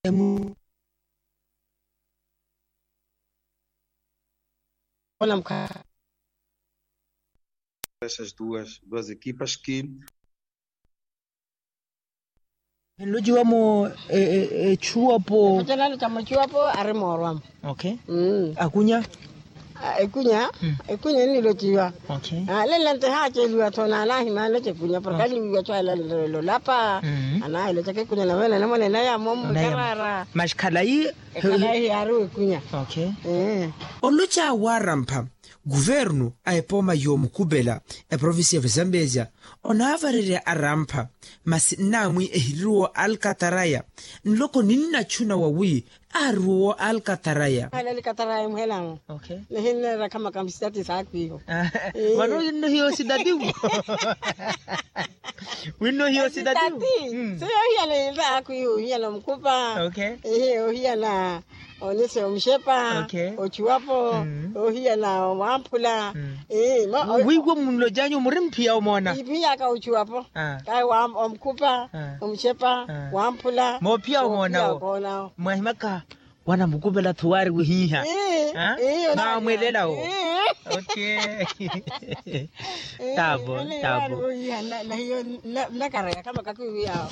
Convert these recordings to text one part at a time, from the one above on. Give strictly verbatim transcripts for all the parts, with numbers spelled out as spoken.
Emu. Ona mukha. Essas duas duas equipas ki. Enlociwa mo echuwapo. Echuwapo ari moorwamo. Okay. Akunya. Ekunya. Ekunya ennilociwa. Okay. Lelo nte haaceliwa tho naanahimya aloce ekunya porke aliwiwa cho alalelo lapa. Anahiloca kekunya nawe nanemonena yamo mwikarara. Maxi khalayi. Ekhalayi yaari wekunya. Okay. Oloca warampha guvernu a epooma yoomukupela eprovincia ya vazambezia onaavarerya arampha. Masi nnaamwi ehiriwo alkataraya nloko ninnachuna wawi aariwo alkataraya. Alkataraya muhelamo. Nihinneera khama kamsitati saakwiho. Vano winno hiyo sitativo. Winno hiyo sitativo. Siyo ohiyana ivaaku iho ohiyana omukhupa. Ehe ohiyana onise omuxepa. Ochuwapo. Ohiyana wamphula. Wiiwa munlocanyu muri mphiya omoona. Iphiyaka ochuwapo. Kahi omukhupa, omuxepa, wamphula. Moophiya omoonawo. Mwahimaka. Wanamukupela-tho waari wihiiha. Maamwelela-wo. Okay. Tavo tavo. Nahiyo nnakara yakhama kakiwiyawo.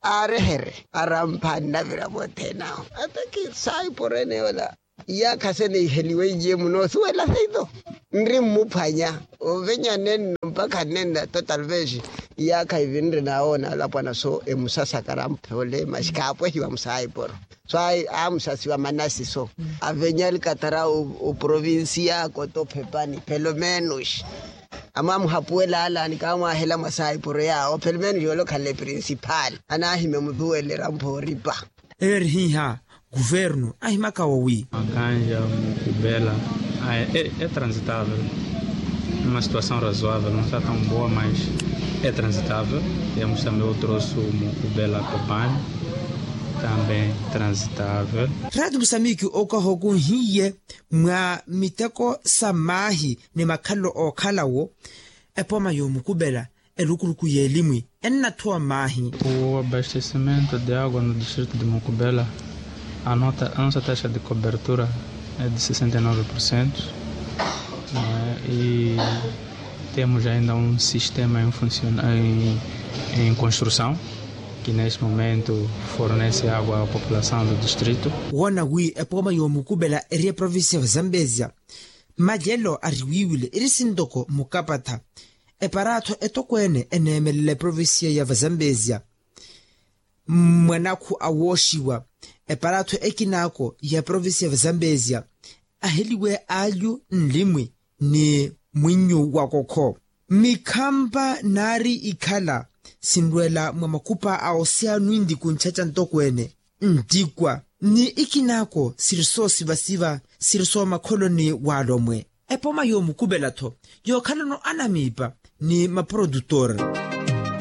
Aarehere arampha nnavira vothene awo. Ataki saiporo ene yola. Iyaakha se niiheliwe iye muno osuwela seito. Nri mmuphwanya ovenya nenno mpakha nnenna to talvez. Iyaakha ivi nri nawoona alapwana so emusasakara mphoole masi khaapwehiwa musaiporo. So amusasiwa manasi so avenya alikatara oprovincia koto phepani pelomenus. Amwamuhapuwela ala ni kaamwahela mwa saiporo yaawo pelomenus yoole okhala eprincipal anaahimya mutuwelera mphooripa. Eyo eri hiiha guvernu ahimaka wawi. Makanja mukubela. Etransitável uma situação razoável não está tão boa mas etransitável. Temos também o troço mukubela cobani também transitável. Ratu musamiki okahokunhiye mwa miteko sa maahi ni makhalelo ookhalawo. Epooma yoomukupela erukuruku y'elimwi ennathuwa mmaahi. O abastecimento de água no distrito de mukubela a nossa taxa de cobertura é de sessenta e nove por cento. E temos ainda um sistema em construção que neste momento fornece água à população do distrito. Woona wi epooma yoomukupela eri eprovincia ya vazambezia. Malelo ariwiiwile eri sintoko mukapatha. Eparaatho etokweene eneemelela eprovincia ya vazambezia. Mwanakhu awooxiwa eparaatho ekinaako ya eprovincia ya vazambezia aheliwe alyu nlimwi ni mwinnyu wa kokho. Mikhampa naari ikhala sinrwela mwa makupa a oceano indiku nchacha ntokweene ntikwa ni ikinaako siri soosivasiva siri soomakholoni waalomwe. Epoma yoomukupela-tho yookhalano anamiipa ni maprodutor.